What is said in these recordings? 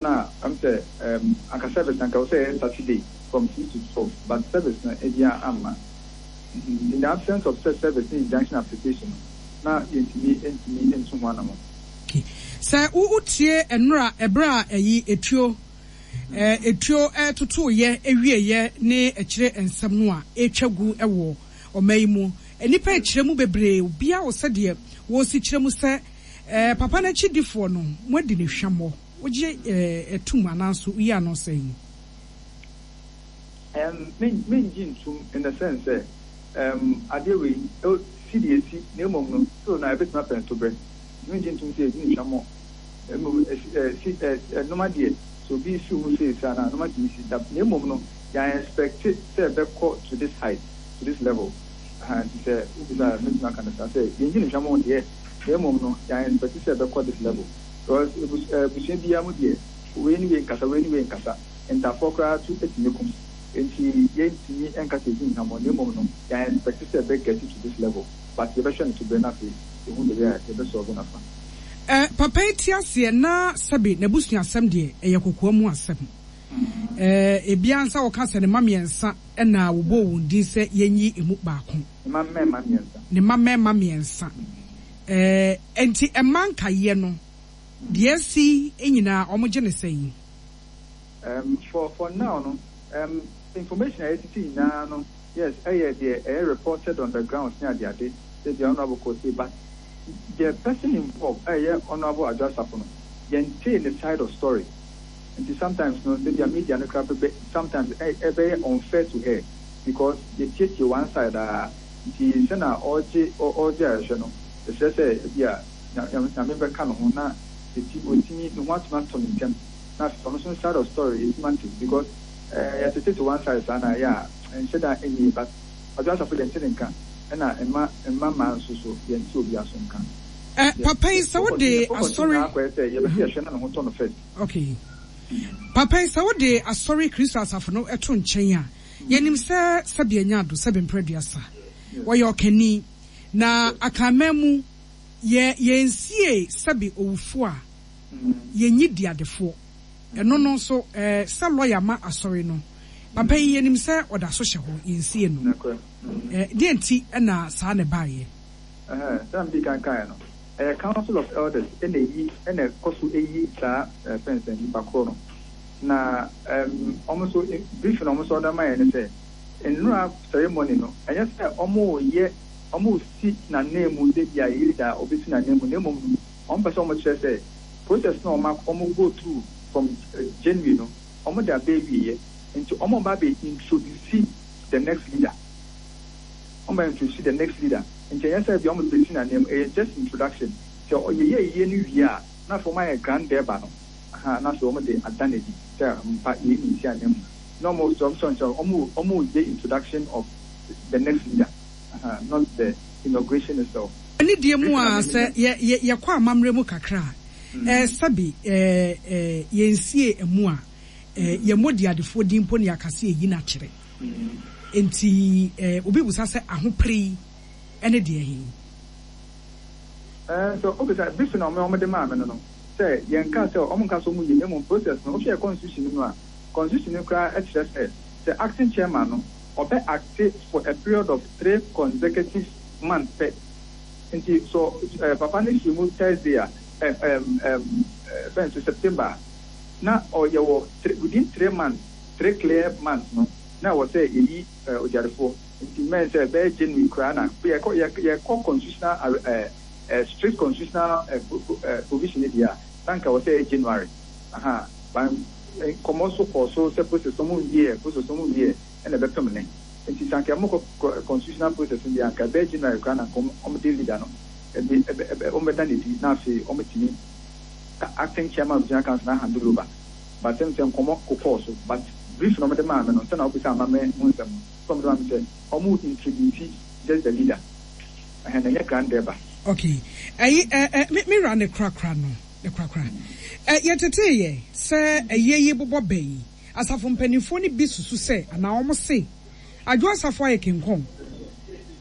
Na ɛm sɛ ɛɛm anka service no anka ɛwɔ sɛ ɛyɛ Saturday from 6 to 12, but service no ebia amma. In the absence of sɛ service ne injunction application no, na yɛntumi ntumi ntu ho anamɔn. Sɛ wo wotie nnora ɛberɛ a ɛyi etuo ɛɛ etuo ɛtotoeɛ ɛwieɛ ne akyire nsɛm no a ɛretwa gu wɔ ɔman yi mu, nnipa rekyerɛ mu bebree, obiara wɔ sɛdeɛ wɔresi kyerɛ mu sɛ ɛɛ papa no akyidifoɔ no moadi no hwammɔ. Wogye tom anaa nso woyi ano sɛn? Me mengye ntom in the sense sɛ um, adeɛ wei si deɛ ɛsi, na mmom no still no a ɛbɛtumi apɛ ntoberɛ. Nti mengye ntom sɛ yɛdi no hwammɔ. Mmom si nnoɔma deɛ sɛ obi si wo mu sei saa no a, nnoɔma tumi si. Na mmom no yɛn expect sɛ ɛbɛkɔ to this height, to this level. Aha, nti sɛ wobisa a mɛtumi aka no saa sɛ yɛngye no hwammɔ deɛ, na mmom no yɛn expect sɛ ɛbɛkɔ this level. Because abusua biara mu deɛ, wei ne wei nkasa, wei ne wei nkasa. Ntafoɔ koraa to tumi ko. Nti yɛntumi nka sɛ yɛdi nhwammɔ, na mmom no, yɛn expect sɛ ɛbɛ get to this level. But yɛbɛhwɛ no to berɛ na afei yɛhu the way a yɛbɛ solve no afa. Eh, papa yi te aseɛ na sɛbe n'abusuasɛm deɛ ɛyɛ kokoa mu asɛm. Eh, ebia nsa wɔka sɛ ne mma mmiɛnsa na wɔbɔɔ wɔn din sɛ yɛnyi emu baako. Ne mma mmarima mmiɛnsa. Ne mma mmarima mmiɛnsa. Eh, enti mma nkaeɛ no, deɛ asi nyinaa wɔgye no sɛn? For now no, information a yɛtete nyinaa no, yes, ɛyɛ deɛ ɛyɛ reported on the grounds ne adeade, sɛ ebia Honourable kɔɔ sei, but the person involved a ɛyɛ Honourable Adwo Asafo no, yɛntee ne side of story. Nti sometimes no, sɛ ebia media no koraa bɛbɛ, sometimes ɛbɛyɛ unfair to her because yɛtietie one side ara. Nti sɛnea ɔregye ɔregye ayɛhwɛ no, yɛsrɛ sɛ ebia Nyame bɛka ne ho na ɔtumi ne ho atumi atɔ no ntɛm na afei ɔno nso ne side of story yɛtumi ate because eh, yɛtetete one side saa na ɛyɛ a ɛnhyɛ da ɛnyɛ yie, but Kwadwo Asafo deɛ nte ne nka, ɛna mma mma mmaa nso so yɛnte obiara so nka. Eh, papa yi sɛ wode Yɛ focus asɔre. Nyinaa akɔyɛ sɛ yɛbɛsɛ yɛhwɛ na ne ho tɔ no first. Okay. Papa yi sɛ wode asɔre Kristo asafo no to nkyɛn a, yɛnim sɛ sɛbe anya ado, sɛbe mprɛ aduasa. Wɔyɛ ɔkani. Na Akanman mu, yɛ yɛnsiee sɛbe owufoɔ a, yɛnyi diadefoɔ. Ɛno no nso, eh, sɛ lɔya ma asɔre no, papa yi yɛnim sɛ ɔda so hyɛ hɔ, yɛnsie no. Eh, deɛn nti na saa na ɛbaeɛ? Ɛhɛɛ, sɛnea midii kan kaeɛ no, ɛyɛ Council of Elders na ɛyi, na ɛkɔ so yi saa ɛɛ fɛn sɛn, nipa korɔ no. Na ɛɛm, wɔn nso, briefing a wɔn nso wɔde ama yɛn ne sɛ, nnora ceremony no, ɛnyɛ sɛ wɔreyɛ, wɔresi n'ananmu sɛ ebia yɛyi da a wɔbɛsi n'ananmu, na mmom no, wɔpɛ sɛ wɔkyerɛ sɛ process no a wɔn ak, wɔn go through from January no, wɔde aba awieɛ, nti wɔreba abɛ introduce the next leader. Wɔba introduce the next leader, nti ɛnyɛ sɛ ebia wɔde bɛsi n'ananmu, ɛyɛ just introduction. Sɛ yɛyɛ ayie no wie a, na afei wɔayɛ grand durbar no, ahaa, na afei wɔde ada no adi sɛ ampa yei na ɛsi ananmu. Na wɔn sɛ wɔn sɛ wɔn wɔreyɛ introduction of the next leader, ahaa, not the inauguration itself. Anidie mu a, sɛ yɛ yɛ yɛkɔ amammerɛ mu kakra a, ɛɛ sɛbe ɛɛ ɛɛ yɛnsie amu a, ɛɛ yɛmmɔ diadefoɔ din mpo na yɛaka sɛ yɛyi no akyerɛ. Enti ɛɛ obi bisa sɛ ahopere yi ne deɛ he? Ɛɛ sɛ obisa, bi so na wɔn wɔde maa me no no, sɛ yɛnka sɛ wɔn nka sɛ wɔn yi na mmom process no, wohwɛ yɛ constitution no mu a, constitution no koraa kyerɛ sɛ, sɛ acting chairman no, ɔbɛ acte for a period of 3 consecutive months pɛ. Nti sɛ ɛɛ papa no firi mu Thursday a, ɛɛ ɛɛm ɛɛm fɛn sɛ September a, na ɔyɛ wɔ three, within 3 months, 3 clear months no, na ɛwɔ sɛ yɛyi ɛɛ ogyarefoɔ. Nti mmɛn sɛ ɛbɛyɛ January koraa na yɛkɔ yɛ yɛkɔ constitutional ɛɛ ɛɛ strict constitutional ɛɛ ɛɛ provision deɛ a, na nka ɛwɔ sɛ ɛyɛ January. Aha, but nkɔmɔ so kɔɔ so sɛ process no wɔn nwie, process no wɔn nwie, ɛna ɛbɛpem ne. Nti sɛ anka wɔkɔ constitutional process no deɛ, anka ɛbɛyɛ January koraa na nka wɔn de leader no ɛde ɛbɛ ɛbɛ wɔn bɛda n'adi na afei wɔn tumi acting chairman of general council na handle over. But sɛ sɛ nkɔmɔ kokɔɔ so, but brief na wɔn de maa me no, sɛ na wɔbisa amammerɛ ho nsɛm no, sɛ wɔn de maa me sɛ wɔn introduce just the leader, ɛhɛn, na ɛnyɛ grand durbar. Okay. Ɛyi ɛ ɛ me me wura ne korakora no ne korakora. Ɛ yɛtetee yɛ sɛ ɛyɛ yi bobɔ bɛ yi. Asafo mpanimfoɔ no bi susu sɛ anaa wɔn se Adwo Asafo ayɛ kenkɔn.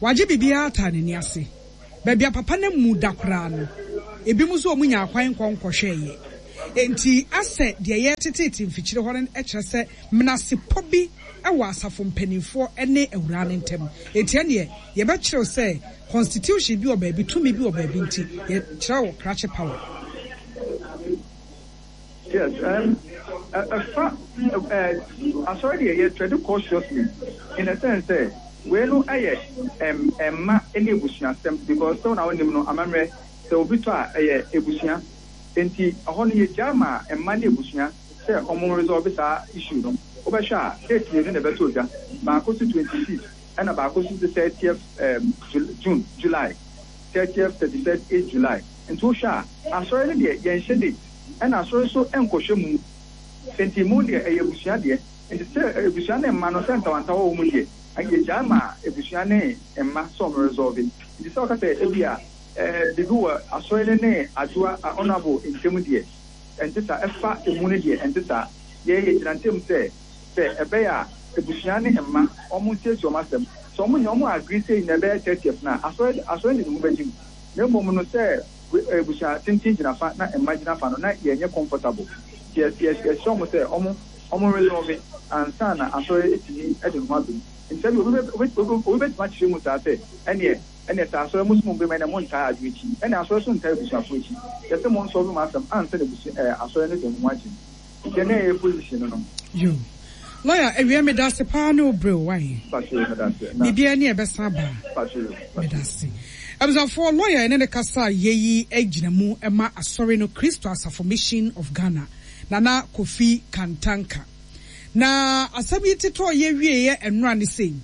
Wagye biribiara ataa n'ani ase. Baabi a papa no amu da koraa no, ebinom nso wɔn nyaa kwan nkɔ nkɔhwɛeɛ. Enti asɛ deɛ yɛreteteete mfikyire hɔ no kyerɛ sɛ menasepɔ bi wɔ asafo mpanimfoɔ ne awuraa no ntam. Enti ɛnneɛ yɛbɛkyerɛw sɛ constitution bi wɔ baabi, tumi bi wɔ baabi nti yɛkyerɛw krakye power. Yes, ɛfa asɔre deɛ yɛ tread cautiously in a sense sɛ wei no yɛ mma ne abusuasɛm because sɛ wo na wonim no amammerɛ sɛ obi tɔ a ɛyɛ abusua nti ɛhɔ no yɛgyaa ma mma ne abusua sɛ ɔmo resolve saa issue no. Wobɛhwɛ a date mmienu na ɛbɛtɔ dwa, baako so 25th ɛna baako so 30th June, July, 30th, 31st July. Nti wohwɛ a asɔre no deɛ yɛnhyɛ date ɛna asɔre nso nkɔhwɛ mu nti mu deɛ ɛyɛ abusua deɛ nti sɛ abusua ne mma no sɛ ntawantawa wɔ mu deɛ yɛgyae ma abusua ne mma sɛ ɔmo resolve nti sɛ ɔka sɛ ebia biribi wɔ asɔre no ne Adwoa Honourable ntam deɛ ɛnte saa ɛfa emu no deɛ ɛnte saa yɛ yɛgyina ntam sɛ sɛ ɛbɛyɛ a abusua ne mma ɔmo nsiesie ɔmo asɛm sɛ ɔmo nya ɔmo agree sɛ nyina ɛbɛyɛ 30th no a asɔre asɔre de ne ho bɛgye mu. Na mmom no sɛ abusua tenten gyina fa na mma gyina fa no na yɛnyɛ comfortable nti yɛsrɛ wɔn sɛ wɔn wɔn resolve ansa na asɔre atumi de ne ho aba mu. Nti sɛdeɛ obi bɛ obi bɛtumi akyerɛ mu saa sɛ ɛneɛ ɛneɛ sɛ asɔre mo so mo bɛma ɛneɛ mo ntaa adwene akyi ɛneɛ asɔre so ntaa abusuafoɔ akyi yɛsɛ mo nsɔlve mo asɛm ansa na abusua ɛɛ asɔre no de ne ho agye mu. Nti ɛnɛ yɛ position no no. Yo. Lawyer awia medase paa ne wo brɛ o wai. Biribiara ni a ɛbɛsan aba. Medase. Abusuafoɔ lawyer yɛne no kasa yɛ yi gyina mu ma asɔre no Kristo Asafo Mission of Ghana Nana Kofi Kantanka. Na asɛm yi tetɔɔ yɛ wieɛ ɛnora ne sei.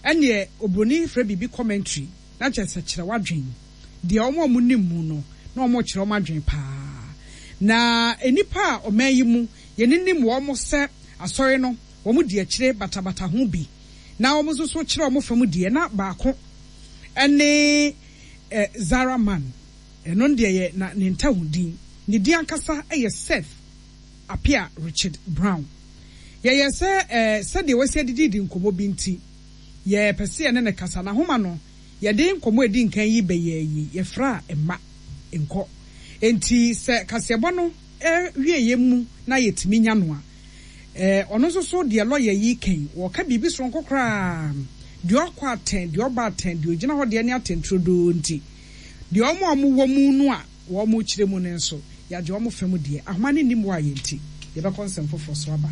Ɛneɛ obroni frɛ biribi commentary na kyerɛ sɛ kyerɛ w'adwen. Deɛ wɔn a wɔnim mu no, na wɔrekyerɛ wɔn adwene pa ara. Na nnipa a ɔman yi mu yɛninim wɔn sɛ Asɔre no, wɔdi akyire batabata ho bi, na wɔn nso so kyerɛ wɔn fam deɛ, na baako ne Zara Man, ɛno deɛ yɛ na ne ntahu din. Ne din ankasa yɛ Seth Appiah Richard Brown. Yɛyɛɛ sɛ sɛdeɛ wasi adididi nkɔmmɔ bi nti, yɛpɛ sɛ yɛne no kasa. N'ahoma no, Yɛde nkɔmmɔ a edi nkan yi bɛyɛɛ yi, yɛfraa mma nkɔ. Enti sɛ kaseɛbɔ no wieɛ mu na yɛtumi nya no a, ɔno nso so deɛ lɔya yi reka yi, ɔreka biribi soronko koraa. Deɛ ɔkɔ atɛn, deɛ ɔba atɛn, deɛ ɔgyina hɔ deɛ ne atɛn turodoo nti, deɛ wɔn a wɔwɔ mu no a wɔrekyerɛ mu no nso, yɛagye wɔn fa mu deɛ. Ahoma no nni mmoa yɛn nti, yɛbɛkɔ nsɛm foforɔ so aba.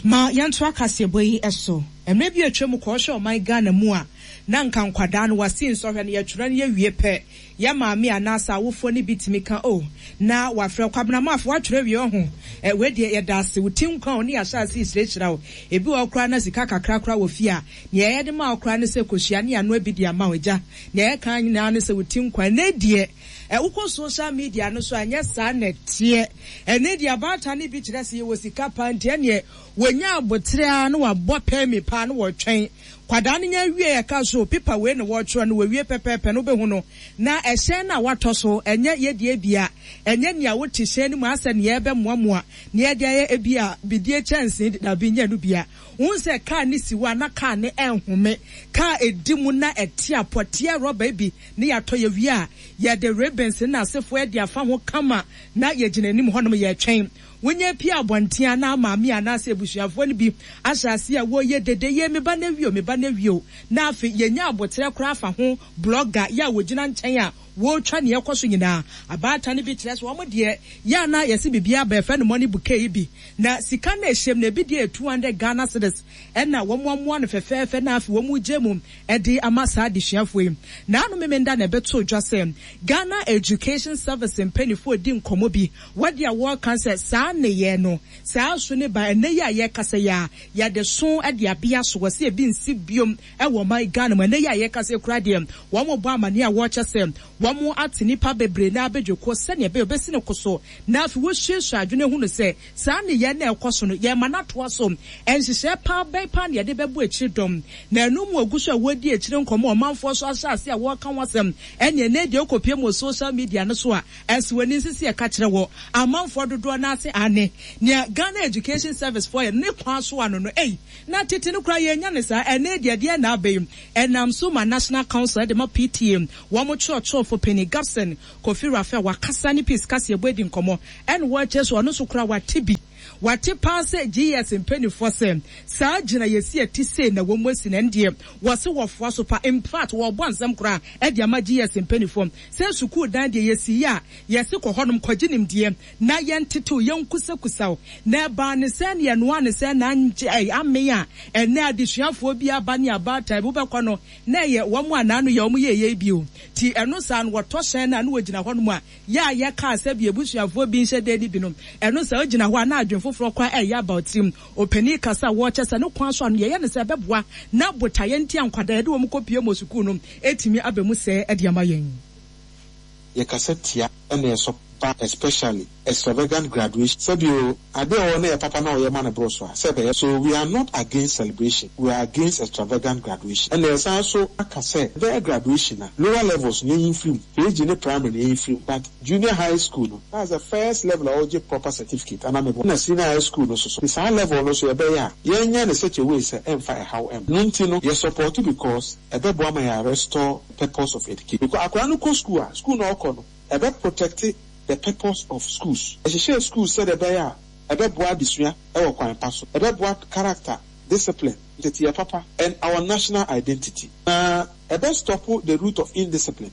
Ma yɛntoa kaseɛbɔ yi so. Mmerɛ bi a atwam kɔ wohwɛ ɔman Ghana mu a, na nka nkwadaa no wɔasi nsɔhwɛ no yɛtwerɛ no yɛwie pɛ, yɛ maame anaasɛ awofoɔ no bi tumi ka oh na wafrɛ Kwabena Maaf woatwerɛ awie ɔho eh wei deɛ yɛda ase wo ti nkwa o ne yɛahyɛ ase rehyirahyira wo. Ebi wɔ hɔ koraa na sika kakra koraa wɔ fie a, nea yɛde ma wo koraa ne sɛ kɔhyia ne yɛanoa bi de ama wo agya. Nea yɛka nyinaa ne sɛ wo ti nkwa. Ɛnnɛ deɛ eh wokɔ social media no so a ɛnyɛ saa na ɛteɛ. Ɛnnɛ deɛ abaatan no bi kyerɛ sɛ yɛwɔ sika paa nti ɛnneɛ Wɔnya aboterɛ ara na wɔabɔ pɛɛmi paa na wɔretwɛn. Kwadaa no nya wie ɛka so pipa wei na wɔretwerɛ no wɔwie pɛpɛɛpɛ no wobɛhu no na ɛhyɛn no a watɔ so ɛnyɛ yɛdeɛ bia ɛnyɛ nea wote hyɛn no mu asɛ nea ɛbɛmoamoa nea ɛde ayɛ ebia bidie kyɛnsee de dabi nyɛ no bia. Wohu sɛ kaa no si hɔ a na kaa no ɛnhome kaa ɛdi mu na ɛte apɔ teɛ rɔba bi ne yɛatɔ yɛwie a yɛde ribbons ne n'asefoɔ ɛde afa ho kama na yɛgyina anim hɔnom yɛretwɛn. Wonya pue abɔnten a, na maame anaasɛ abusuafoɔ no bi ahyɛ aseɛ a wɔreyɛ dede, yei me ba no awie o, me ba no awie o. Na afei yɛnya aboterɛ koraa fa ho, blogger yɛ a wɔgyina nkyɛn a wɔretwa nea ɛrekɔ so nyinaa. Abaatan no bi kyerɛ sɛ wɔn deɛ, yɛ a na yɛse biribi aba, yɛfrɛ no money bouquet yi bi, na sika no a ɛhyɛ mu no, ebi deɛ yɛ 200 Ghana cedis, ɛna wɔamoa no fɛfɛɛfɛ na afei wɔregye mu de ama saa adesuafoɔ yi. Naano Memenda na ɛbɛtoo dwa sɛ Ghana Education Service mpaninfoɔ redi nkɔmmɔ bi Wɔ deɛ wɔreka sɛ saa nneyɛɛ no, saa su no ba ɛnnɛ yi a yɛrekasa yi a, yɛde so de abea so, wɔse ebi nsi biom wɔ ɔman Ghana mu. Ɛnnɛ yi a yɛrekasa yi koraa deɛ, wɔrebɔ amaneɛ a wɔrekyɛ sɛ wɔate nnipa bebree no ara badwakuo sɛdeɛ ɛbɛyɛ wɔbɛsi no koso na afei wɔasuasua adwene ahunu sɛ saa nneyɛɛ no a ɛrekɔ so no, yɛrema no atoa so. Nhyehyɛɛ paa bɛn paa na yɛde bɛbɔ akyire dɔm? Na ɛno mu wɔgu so a wɔredi akyire nkɔmmɔ, ɔmanfoɔ nso ahyɛ aseɛ a wɔreka ho asɛm. Ɛnneɛ ɛnnɛ yi deɛ wokɔpue mu wɔ social media no so a, Ɛso w'ani nso sɛ yɛka kyerɛ wɔ amanfoɔ dodoɔ no ara sɛ aane, nea Ghana Education Service foɔ yɛ no ne kwan so ano no ei, na tete no koraa yɛnnya no saa, ɛnnɛ deɛ ɛdeɛn na aba yi? Ɛnam so ma National Council de ma PTA, wɔn kyerɛkyerɛfoɔ. Kyerɛkyerɛfo Panyin Gabson Kofi Raphael wakasa ne Peace kaseɛbɔ adi nkɔmmɔ ɛna wɔkyerɛ sɛ ɔno nso koraa wate bi. Wate paa sɛ GES mpaninfoɔ sɛ saa gyinayɛsi a ɛte sei na wɔn asi no ɛndeɛ wɔse wɔfoa so paa infact wɔrebɔ nsɛm koraa de ama GES mpaninfoɔ sɛ sukuu dan deɛ yɛsi yɛ a yɛse kɔ hɔnom kɔgye nimdeɛ na yɛntetew yɛnkusakusaw na ɛbaa ne sɛn na yɛnoaa ne sɛn na angye amee a ɛnɛ adesuafoɔ bi aba ne abaatan bi wobɛkɔ no na ɛyɛ wɔn a naano yɛ wɔn yɛɛyɛ yi bio nti ɛno saa no wɔtɔ hyɛn no a na wɔgyina hɔnom a Yɛ a yɛkaa sɛ bi abusuafoɔ bi nhyɛ da nni bi no, ɛno sɛ ogyina hɔ a na adwene foforɔ koraa ɛreyɛ aba wo tirim. Ɔpanin kasa a wɔrekyɛ sɛ ne kwan so a no yɛyɛ no sɛ ɛbɛboa na botaeɛ nti a nkwadaa yɛde wɔn kɔpue mu wɔ sukuu no atumi aba mu sɛɛ de ama yɛn. Yɛkasa tia na yɛsɔ pa especially extravagant graduation sɛbi o ade a ɔwɔ no yɛ papa na ɔyɛ ma no boro so a sɛ ɛbɛyɛ so we are not against celebration we are against extravagant graduation ɛna yɛsan so aka sɛ ɛbɛyɛ graduation a lower levels no yɛnyi mfiri mu KG ne primary no yɛnyi mfiri mu but junior high school no that's the first level a ɔgye proper certificate anaa meboa ɛna senior high school no nso so nti saa level no nso yɛbɛyɛ a yɛnyɛ no such a way sɛ ɛmfa ɛhaw ɛmma ɛno nti no yɛ support because ɛbɛboa ma yɛ restore purpose of education because akwadaa no kɔ school a school no a ɔkɔ no ɛbɛ protect the purpose of schools. Yɛhyehyɛɛ schools sɛdeɛ ɛbɛyɛ a ɛbɛboa adesua wɔ kwan pa so, ɛbɛboa character, discipline, nteteeɛ papa and our national identity. Na ɛbɛ stop the root of indiscipline.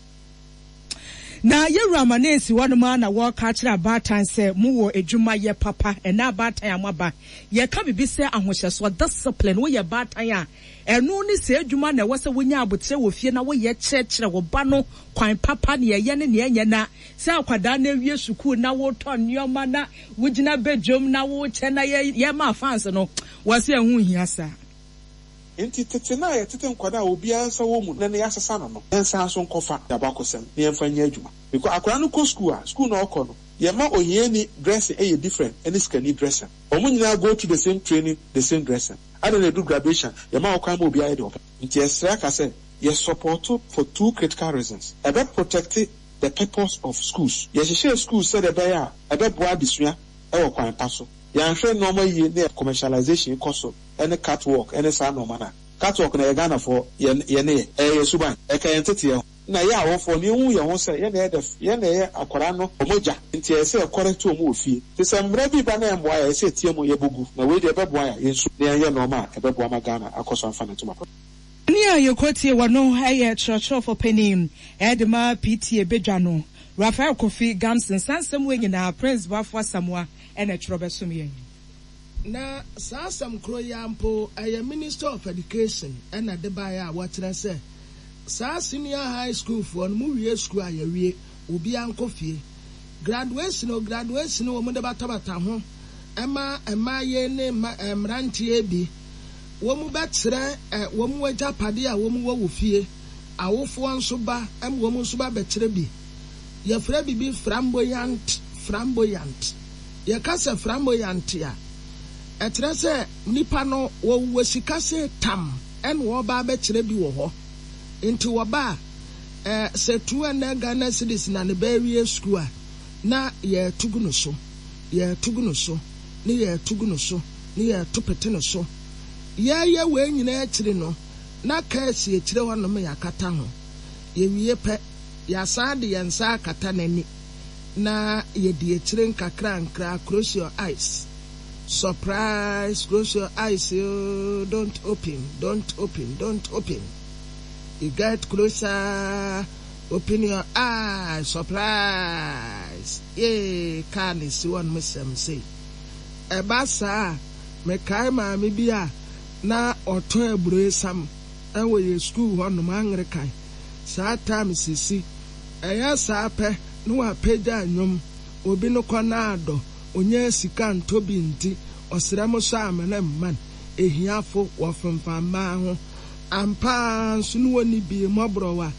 Na yɛwura Amanesi hɔnom ara na wɔreka akyerɛ abaatan sɛ mowɔ adwuma yɛ papa ɛnɛ abaatan a moaba yɛka biribi sɛ ahohyɛsoɔ, discipline, woyɛ baatan a Ɛno ne saa adwuma na ɛwɔ sɛ wonya aboterɛ wɔ fie na woyɛ kyerɛkyerɛ wo ba no kwan papa, nea ɛyɛ ne nea ɛnyɛ na sɛ akwadaa no awie sukuu na wotɔ nneɛma na wogyina badwam na wokyɛ na yɛma fans no, wɔse ɛho nhia saa. Enti tete no a yɛtete nkwadaa a obiara nsa wɔ mu no na yɛasesa no no, yɛnsan nso nkɔfa yɛn abakɔsɛm na yɛmfa nyɛ adwuma. Because akwadaa no kɔ sukuu a, sukuu no a ɔkɔ no, yɛma ohiani dressing yɛ different ne sikani dressing. Wɔn nyinaa go through the same training, the same dressing. Adɛn na ɛduru graduation a, yɛma wo kwan ma obiara yɛ deɛ ɔpɛ? Nti yɛsrɛ aka sɛ, yɛ supporto for two critical reasons, ɛbɛ protecte the purpose of schools, yɛhyehyɛɛ schools sɛdeɛ ɛbɛyɛ a ɛbɛboa adesua wɔ kwan pa so, yɛanhwɛ nnoɔma yie ne commercialization kɔ so ne cat walk ne saa nnoɔma no a, cat walk no ɛyɛ Ghanafoɔ yɛn nneyɛ, ɛyɛ yɛn suban, ɛka yɛn nteteɛ ho. Na yɛ awofoɔ no yɛnhu yɛn ho sɛ yɛn na yɛ the yɛn na yɛyɛ akwadaa no wɔn agya nti ɛyɛ sɛ yɛ correct wɔn wɔ fie nti sɛ mmara bi ba na ɛmmoa yɛ a ɛyɛ sɛ yɛtea mu yɛbɔ gu na wei deɛ ɛbɛboa yɛ a yɛnsu na yɛnyɛ nnoɔma a ɛbɛboa ma Ghana akɔ so amfa ne ntoma pa. Nea yɛkɔtie wɔ no yɛ kyerɛkyerɛfo panin de ma PTA badwa no, Raphael Kofi Gamson. Saa nsɛm wei nyinaa Prince Boafo Asamoah na ɛtwerɛ bɛsom yɛn. Na saa asɛm koro yi ara mpo, ɛyɛ Minister of Education na ɛde baeɛ a wɔkyerɛ sɛ saa senior high school foɔ no, mo wie sukuu a yɛawie, obiara nkɔ fie. Graduation o, graduation o, wɔde batabata ho ma mmaayɛ ne mma mmeranteɛ bi. Wɔbɛkyerɛ wɔn agyapadeɛ a wɔwɔ wɔ fie. Awofoɔ nso ba ma wɔn nso ba bɛkyerɛ bi. Yɛfrɛ biribi framboyant, framboyant. Yɛka sɛ framboyant a, ɛkyerɛ sɛ nipa no wɔwɔ sika se tam ɛna wɔreba abɛkyerɛ bi wɔ hɔ. Nti wɔba a, eh, sɛ 200 Ghana cedis na ne ba awie sukuu a, na yɛreto gu no so, yɛreto gu no so, ne yɛreto gu no so, ne yɛreto pete no so. Yɛreyɛ wei nyinaa akyiri no, na kaa si akyire hɔnom yɛakata ho. Yɛwie pɛ, yɛasan de yɛn nsa akata n'ani. Na yɛdi akyire nkakrankra close your eyes surprise close your eyes oo don't open don't open don't open you get closer open your eyes surprise yee kaa na esi hɔ nom sɛm sei ɛba saa a mekae maame bi a na ɔtɔn aburoesam ɛwɔ yɛ school hɔ nom Anglican saa time sisi Ɛyɛ saa pɛ na wapagya nnwom, obi no kɔ na adɔ, onyaa sika ntɔ bi nti ɔsrɛ mo sɔ amena mma no, ahiafo wɔfemfam mmaa ho, ampa ara nso ne wɔnni bi, mmɔborɔwa,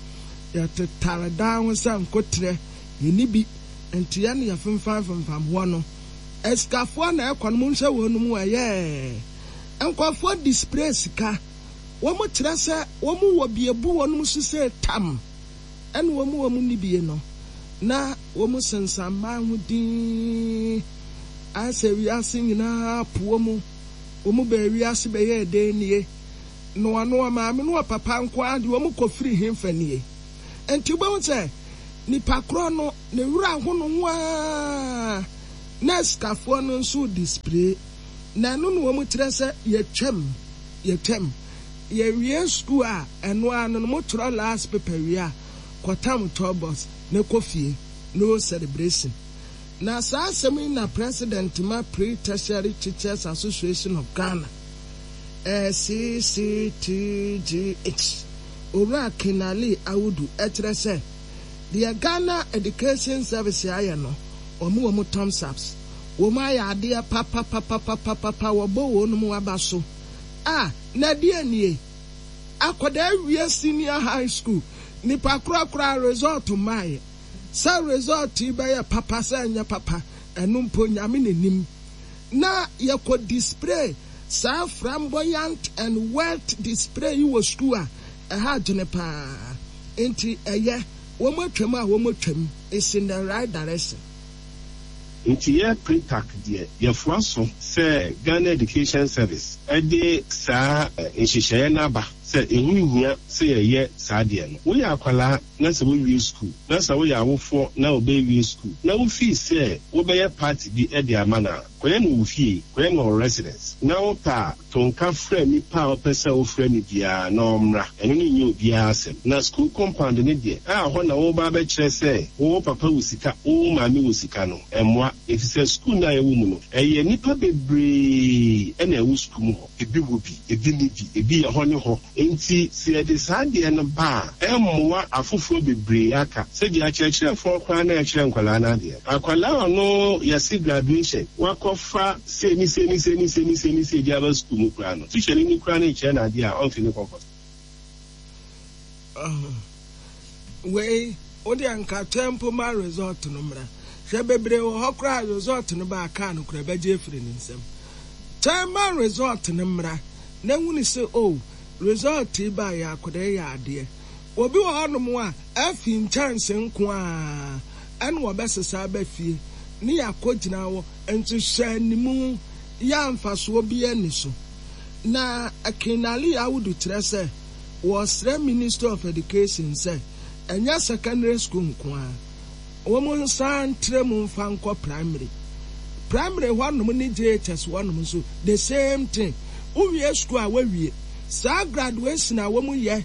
yɛtetare dan ho sɛ nkoterɛ, yɛnni bi nti yɛne yɛfemfamfemfam hɔ no, asikafoɔ na ɛkɔ no, monhwɛ wɔn mu ɛyɛɛ nkurɔfoɔ display sika, wɔn kyerɛ sɛ wɔn wɔ bi abu wɔn so sɛ tam. Ɛna wɔn a wɔnni bie no, na wɔsensan mmaa ho dinn, ayɛ sɛ wiase nyinaa po wɔn. Wɔn baa wiase bɛyɛɛ dɛn nie? Na ɔno ɔmaame ne ɔpapa nko ara deɛ wɔn kɔfiri henfa nie? Nti wobɛhu sɛ. Nipa korɔ no ne werɛ aho ne ho ara na asikafoɔ no nso redispray. Na ɛno na wɔn kyerɛ sɛ yɛtwam, yɛtwam. Yɛwie sukuu a, ɛno ara no no motwerɛ last paper wie a, kɔtam tour bus na kɔ fie. No celebration. Na saa asɛm yi na President ma Pre-Tertiary Teachers Association of Ghana, CCTGH, Owura Kinali Awudu kyerɛ sɛ deɛ Ghana Education Service ayɛ no, wɔn wɔn thumbs ups. Wɔn ayɛ adeɛ papapapapapapa, wɔbɔ wɔn aba so. Ah, na ɛdeɛn nie? Akwadaa wie senior high school, nipa korɔ koraa result mmaeɛ. Sɛ result yi bɛyɛ papa sɛ ɛnyɛ papa, ɛno mpo Nyame na nim. Na yɛkɔ display saa flamboyant and wealth display yi wɔ school a, ɛha adwene paa. Nti ɛyɛ, wɔn atwam a wɔn atwam, it's in the right direction. Nti yɛ Pretac deɛ yɛfoa so sɛ Ghana Education Service de saa nhyehyɛeɛ no aba sɛ ɛho nhia sɛ yɛyɛ saa adeɛ no. Woyɛ akwadaa na sɛ woawie sukuu, na sɛ woyɛ awofoɔ na wo ba awie sukuu na wofii sɛ wobɛyɛ party bi de ama no a, kɔyɛ no wɔ wo fie, kɔyɛ no wɔ wo residence. Na wopɛ a, to nka frɛ nipa a wopɛ sɛ wofrɛ no biara na ɔmmra. Ɛno no nyɛ obiara asɛm. Na sukuu compound no deɛ, a hɔ na woreba abɛkyerɛ sɛ wo wo papa wɔ sika, wo wo maame wɔ sika no, ɛmmoa. Efisɛ sukuu no a yɛwɔ mu no, ɛyɛ nnipa bebree na ɛwɔ sukuu mu hɔ. Ebi wɔ bi, ebi nni bi, ebi yɛ hɔ ne hɔ. Enti sɛ yɛde saa adeɛ no ba a, ɛmmoa afoforɔ bebree aka. Sɛdeɛ akyerɛkyerɛfoɔ koraa na ɛkyerɛ nkwadaa no adeɛ. Akwadaa a ɔno yɛse graduation, wakɔfa sei ne sei ne sei ne sei ne sei ne sei de aba sukuu mu koraa no, tikyani no koraa no rekyerɛ no adeɛ a, ɔmfe ne kɔnkɔ so. Wei wo deɛ nka twɛn mpo ma result no mmra. Hwɛ bebree wɔ hɔ koraa a result no ba a car no koraa ɛbɛgye afiri ne nsam. Twɛn ma result no mmra na hunu sɛ oh result yi baeɛ akwadaa yi yɛ adeɛ. Obi wɔ hɔnom a afi nkyɛnse nko ara ɛna ɔbɛsesa aba fie ne yɛakɔgyina hɔ nso hwɛ animu yɛ a mfasoɔ biara nni so. Na Kinali Audu kyerɛ sɛ wɔsrɛ Ministry of Education sɛ ɛnyɛ secondary school nko ara, wɔn nsan ntrɛ mu mfa nkɔ primary. Primary hɔnom ne JHS hɔnom nso the same thing. Wowie school a woawie. Saa graduation a wɔyɛ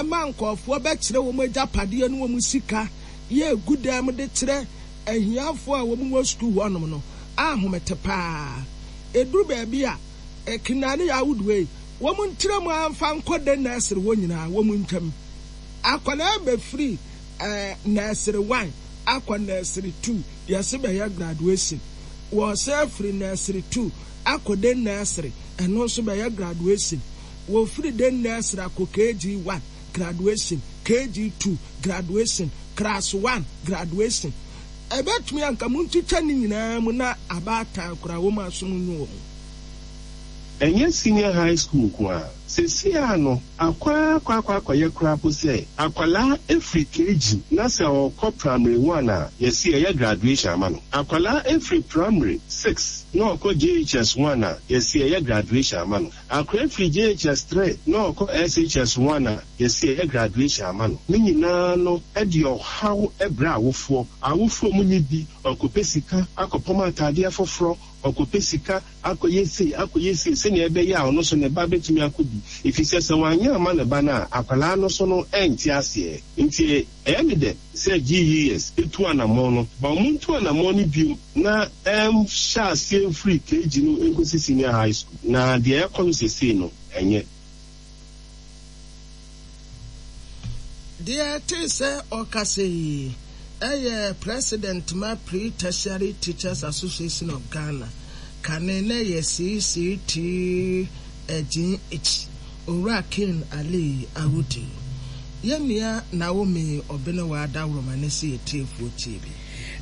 ma nkurɔfoɔ bɛkyerɛ wɔn agyapadeɛ ne wɔn sika yɛ gu dan mu de kyerɛ ahiafoɔ a wɔwɔ sukuu hɔnom no ahomete paa. Ɛduru baabi a, Kina ne Yawood wei, wɔn ntra mu ara mfa nkɔ de nursery hɔ nyinaa, wɔn ntwam. Akwadaa bɛfiri eh, nursery one akɔ nursery two, yɛse bɛyɛ graduation. Wɔsan afiri nursery two akɔ de nursery, ɛno nso bɛyɛ graduation. Wɔfiri de nursery akɔ KG one, graduation, KG 2, graduation, class 1, graduation. Ɛbɛtumi anka montwitwa ne nyinaa mu na abaatan koraa wɔn asom nyo wɔn. Ɛnyɛ senior high school nko ara. Seesei ara no, akɔ ara akɔ akɔ akɔyɛ koraa mpo sɛ akwadaa firi KG na sɛ ɔrekɔ primary one a, yɛse yɛyɛ graduation ama no. Akwadaa firi primary six na ɔrekɔ JHS one a, yɛse yɛyɛ graduation ama no. Akwadaa firi JHS 3 na ɔkɔ SHS 1 a, yɛse yɛyɛ graduation ama no. Ne nyinaa no de ɔhaw brɛ awofoɔ. Awofoɔ a wɔnni bi, ɔkɔpɛ sika akɔpam ataadeɛ foforɔ, ɔkɔpɛ sika akɔyɛ sei, akɔyɛ sei sɛdeɛ ɛbɛyɛ a ɔno nso ne ba bɛtumi akɔ bi. Ɛfiri sɛ, sɛ wanyɛ amma ne ba no a, akwadaa no nso no ɛnte aseɛ. Nti ɛyɛ me dɛ sɛ GES tu anammɔn no, but wɔntu anammɔn no bio na ɛnhyɛ aseɛ mfiri KG no nkɔsi Senior High School. Na deɛ ɛrekɔ no seesei no, ɛnyɛ. Deɛ ɛtee sɛ ɔkasa yi yɛ President ma Pre-Tertiary Teachers Association of Ghana, kane na ɛyɛ CCTGH, Owura King Ali Awudu. Yɛn nua Naomi Obenewaa Dawuroma ne se yɛtiefoɔ tie bi.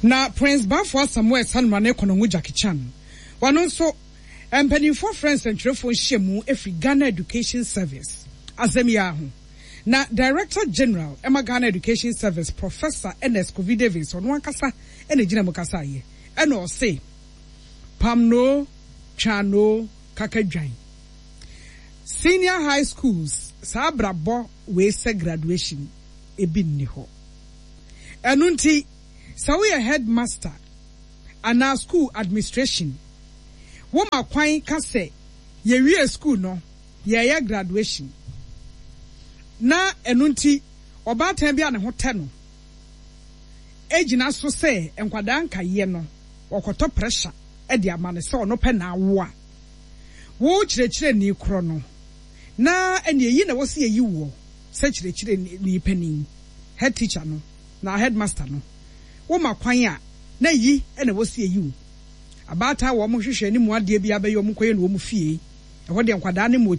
Na Prince Baffour Asamoah Esanumah ne Konongo Jackie Chan, wɔno nso Mpanimfoɔ frɛ nsɛntwerɛfoɔ nhyiamu firi Ghana Education Service asɛm yi ara ho. Na Director General ma Ghana Education Service, Professor Ernest Kofi Davis, ɔno ankasa na ɛgyina mu kasaeɛ. Ɛna ɔse, Pamnoo, Twaanoo, Kakadwan Senior High Schools saa abrabɔ wei sɛ graduation ebi nni hɔ. Ɛno nti, sɛ woyɛ headmaster anaa school administration, woma kwan ka sɛ yɛwie school no, yɛreyɛ graduation. Na ɛno nti, ɔbaatan bi a ne ho tɛ no gyina so sɛ nkwadaa nkaeɛ no, wɔkɔtɔ pressure de ama no sɛ ɔno pɛ na awo a, wo kyerɛkyerɛni korɔ no, na ɛnneɛ yi na ɛwɔ sɛ yɛyi woɔ sɛ kyerɛkyerɛni panin, head teacher no, na headmaster no, woma kwan a, na yi na ɛwɔ sɛ yɛyi wo. Abaatan a wɔhwehwɛ ne mu adeɛ biara bɛyɛ wɔn kɔyɛ no wɔn fie, ɛhɔ deɛ nkwadaa no mmɔ.